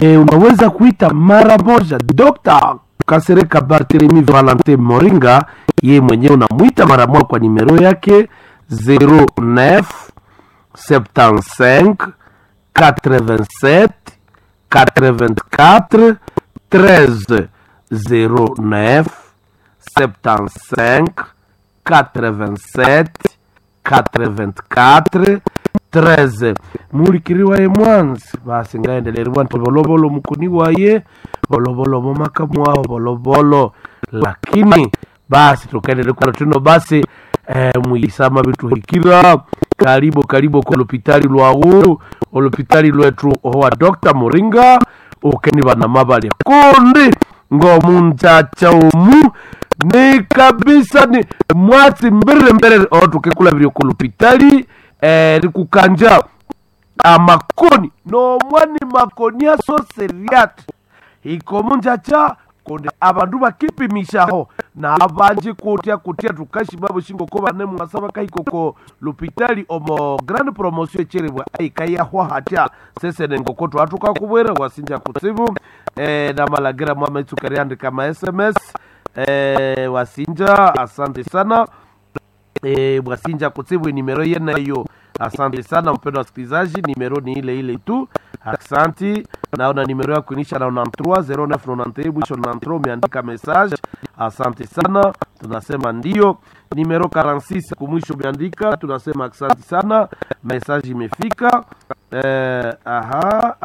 Unaweza kuita mara moja Dr. Kasereka Barthelemy Valentin Moringa, ye mwenyewe unamwita mara moja kwa nimero yake 09 75 87 84 13, 09 75 87 84 13. Mulikiri waye mwanzi basi ngaendelerwa nti volovolo mukuni waye volovolo momaka mwao volovolo, lakini basi tukaendelea kwa tuno basi mwisama bituhikira karibu karibu kwa lopitali lwawu olopitali lwetu owa Dr. Muringa ukeni bana mabale kundi ngomunjacha omu ni kabisa ni mwatsi mbere mbere otukekula biri ku lopitali likukanja amakoni nomwani makoni asoseriati ikomunjacha kundi abandu bakipimishaho na abanji kutya kutya tukashima bushingo ko bane mwasa bakahikoko lupitali omo grand promotion echeribwa aikayahwa hatya sesene ngoko twatukakubwera wasinja kutsibu na malagira mwametsuka ma sms wasinja asante sana bwasinja kutsibu nimero yenayo. Asante sana mpendwa wasikilizaji, nimero ni ile ile tu. Asante. Naona nimero yako inisha na 93 0991 mwisho 93, umeandika message. Asante sana, tunasema ndio. Nimero 46 kumwisho umeandika, tunasema asante sana, message imefika. Aha.